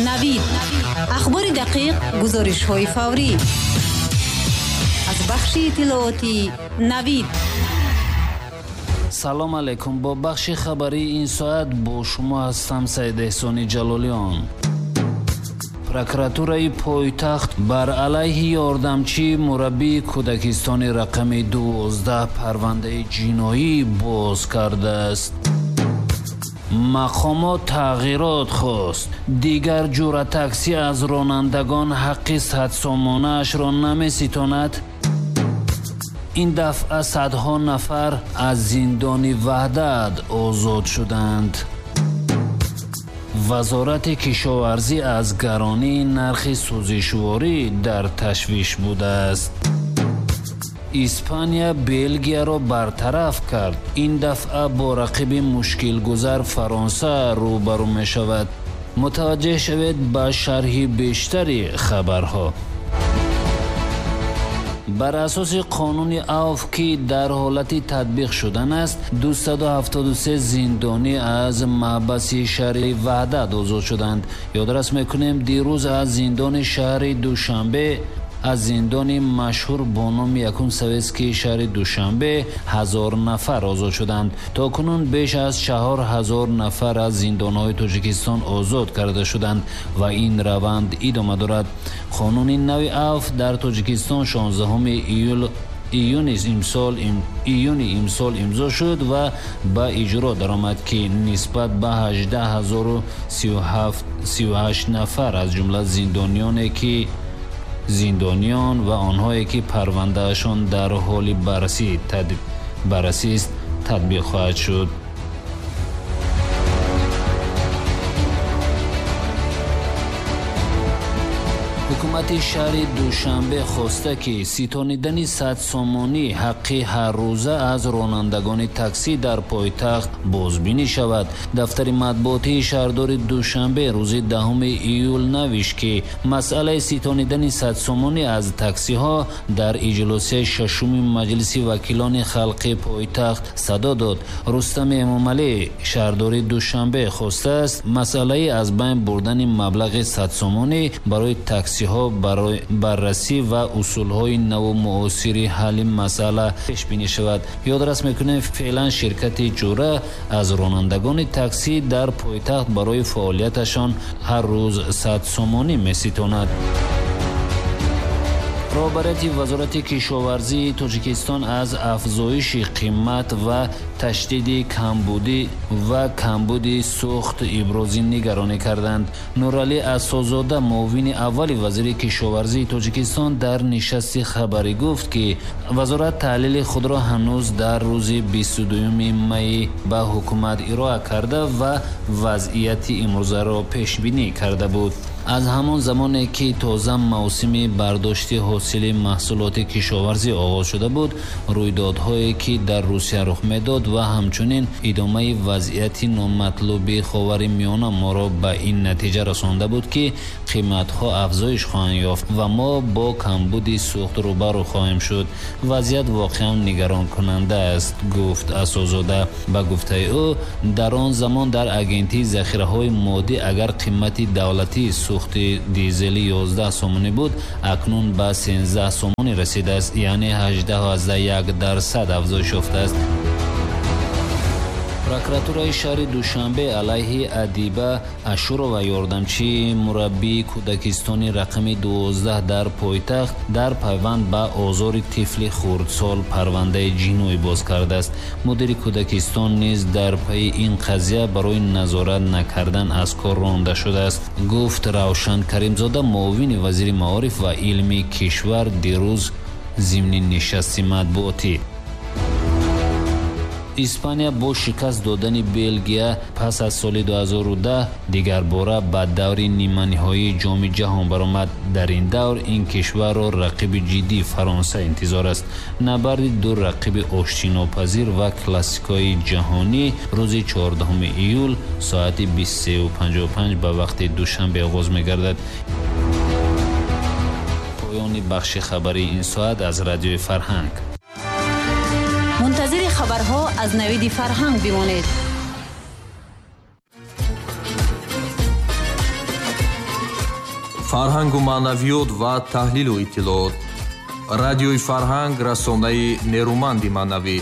Навид. Ахбори дақиқ, гузоришҳои фаврӣ. Аз бахши иттилоотии Навид. Салом алейкум. Бо бахши хабарии ин соат бо шумо ҳастам Саид Эҳсони Ҷалолиён. Прокуратураи пойтахт бар алайҳи ёрдамчии мураббии кӯдакистони рақами 12 парвандаи ҷиноӣ боз кардааст. Мақомот тағйирот хост. Дигар ҷура таксӣ аз ронандагон ҳаққи садсомонаашро намеситонад. Ин дафъа садҳо нафар аз зиндони Ваҳдат озод шуданд. Вазорати кишоварзӣ аз гаронии нархи сӯзишворӣ дар ташвиш будааст. Испания Белгияро бартараф кард. Ин дафъа бо рақиби мушкилгузар Фаронса рӯбарӯ мешавад. Мутаваҷҷеҳ шавед ба шарҳи бештари хабарҳо. Бар асоси қонуни АВФ, ки дар ҳолати татбиқ шудан аст, 273 зиндонӣ аз маҳбаси шаҳри Ваҳдат озод шуданд. Ёдрас мекунем, дирӯз аз зиндони шаҳри Душанбе, аз зиндони машҳур бо номи якум советский шаҳри Душанбе 1000 нафар озод шуданд. То кунун беш аз 4000 нафар аз зиндонҳои Тоҷикистон озод карда шуданд ва ин раванд идома дорад. Қонуни нави АВФ дар Тоҷикистон 16 июни имсол имзо шуд ва ба иҷро даромад, ки нисбат ба 18038 нафар аз ҷумла зиндониёне ки зиндониён ва онҳое ки парвандаашон дар ҳоли баррасист татбиқ хоҳад шуд. Ҳукумати шаҳри Душанбе хоста, ки ситонидани садсомонӣ ҳаққи ҳаррӯза аз ронандагони таксӣ дар пойтахт бозбинӣ шавад. Дафтари матбуотии шаҳрдори Душанбе рӯзи 10 июл навишт, ки масъалаи ситонидани садсомонӣ аз таксиҳо дар иҷлосияи шашуми Маҷлиси вакилони халқи пойтахт садо дод. Рустами Эмомалӣ шаҳрдори Душанбе хостааст масъалаи аз байн бурдани маблағи садсомонӣ барои таксиҳо барои баррасӣ ва усулҳои наву муосири ҳалли масъала пешбинӣ шавад. Ёдрас мекунем, феълан ширкати ҷура аз ронандагони таксӣ дар пойтахт барои фаъолияташон ҳар рӯз 100 сомонӣ меситонад. Роҳбарияти Вазорати кишоварзии Тоҷикистон аз афзоиши қимат ва ташдиди камбудӣ ва камбуди сӯхт ибрози нигаронӣ карданд. Нуралӣ Асозода, муовини аввали вазири кишоварзии Тоҷикистон, дар нишасти хабарӣ гуфт, ки вазорат таҳлили худро ҳанӯз дар рӯзи 22 май ба ҳукумат ироа карда ва вазъияти имрӯзаро пешбинӣ карда буд. Аз ҳамон замоне ки тоза мавсими бардошти ҳосили маҳсулоти кишоварзӣ оғоз шуда буд, рӯйдодҳое ки дар Русия рух медод ва ҳамчунин идомаи вазъияти номатлуби Ховари Миёна моро ба ин натиҷа расонда буд, ки қиматҳо афзоиш хоҳанд ёфт ва мо бо камбуди сӯхт рӯбарӯ хоҳем шуд. Вазъият воқеан нигаронкунанда аст, гуфт Асозода. Ба гуфтаи ӯ, дар он замон дар агентии захираҳои моддӣ агар қимати давлатии сӯхти дизели 11 сомонӣ буд, акнун ба 13 сомонӣ расидааст, яъне 18,1% афзоиш ёфтааст. Прокуратураи шаҳри Душанбе алайҳи Адиба Ашурова, ёрдамчии мураббии кӯдакистони рақами 12 дар пойтахт, дар пайванд ба озори тифли хурдсол парвандаи ҷиноӣ боз кардааст. Мудири кӯдакистон низ дар пайи ин қазия барои назорат накардан аз кор ронда шудааст, гуфт Равшан Каримзода, муовини вазири маориф ва илми кишвар, дирӯз зимни нишасти матбуотӣ. Испания бо шикаст додани Белгия пас аз соли 2010 дигарбора ба даври ниманиҳоии Ҷоми ҷаҳон баромад. Дар ин давр ин кишварро рақиби ҷиддӣ Фаронса интизор аст. Набарди ду рақиби оштинопазир ва классикои ҷаҳонӣ рӯзи 14 июл соати 23:55 ба вақти Душанбе оғоз мегардад. Поёни бахши хабарии ин соат аз Радиои Фарҳанг. Мунтазири хабарҳо аз Навиди Фарҳанг бимонед. Фарҳангу маънавиёт ва таҳлилу иттилоот. Радиои Фарҳанг, расонаи нерӯманди маънавӣ.